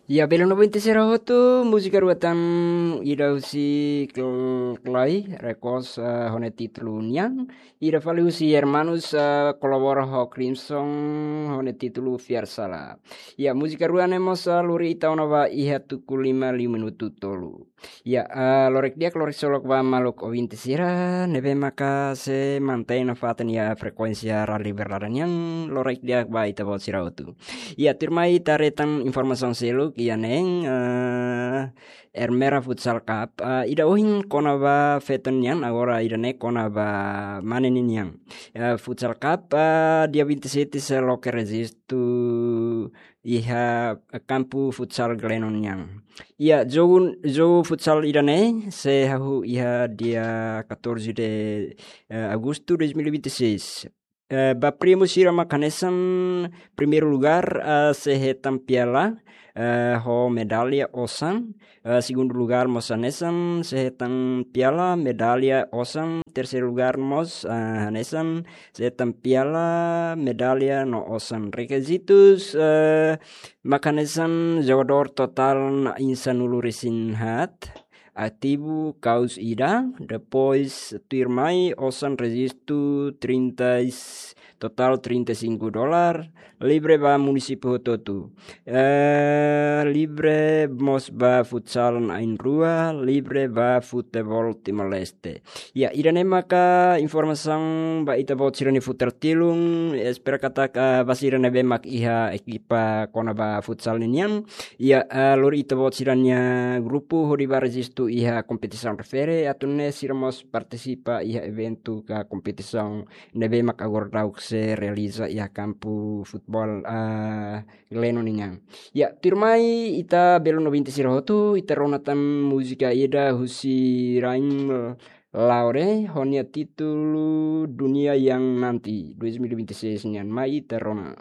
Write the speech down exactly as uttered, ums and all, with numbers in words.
Ya, belun ouvinte sira hotu, múzika rua tan, ida husi Kl-, Klai Records, eh, ho nia títulu Nian, ida fali husi Hermanos, eh, kolabora ho Crimson, ho nia títulu Fiar Sala. Ya, múzika rua ne'e mós, eh, lori ita ona ba iha tuku lima liu minutu tolu. Ya, eh, lorokraik di'ak, loraksolok ba maluk ouvinte sira ne'ebé maka sei mantein nafatin iha frekuénsia Rádiu Liberdade nian, lorokraik di'ak ba ita-boot sira hotu. Ya, tuirmai ita haree tan informasaun seluk iha neen, eh, Ermera Futsal Cup, eh, ida ohin kona-ba feto nian, agora ida-ne'e kona-ba mane ninian. Eh, Futsal Cup, eh, dia vinte e sete sei loke rejistu iha kampu futsal Glenon nian. Ya, jogu, jogu futsal ida-ne'e sei hahú iha dia catorze de, eh, agosto dois mil e vinte e seis. Eh, ba prémiu sira mak hanesan, primeiru lugár, eh, sei hetan piala, eh, ho medalla osan. Eh, segundu lugár mós hanesan, sei hetan piala, medalla osan. Terseiru lugár mós, eh, hanesan, sei hetan piala, medalla no osan. Rekizitus, eh, mak hanesan jogadór totál na'in sanulu-resin-haat, ativu kaus ida, depois tuirmai osan rejistu trinta e, totál trinta e cinco dólar, livre ba munisípiu hotu-hotu. Eh, livre mós ba futsal na'in rua, livre ba futeból Timor-Leste. Ya, ida-ne'e maka informasaun ba ita-boot sira-nia futar tilun, espera katak, eh, ba sira ne'ebé mak iha ekipa kona-ba futsal ninian. Ya, eh, lori ita-boot sira-nia grupu hodi ba rejistu iha kompetisaun refere, atu nune'e sira mós partisipa iha eventu ka kompetisaun ne'ebé mak agora daudauk sei realiza iha kampu futeból, eh, Glenon nian. Ya, tuirmai ita belun ouvinte sira hotu, ita rona tan múzika ida husi Raim Laure, ho nia títulu Dunia Yang Nanti, dois mil e vinte e seis nian, mai ita rona.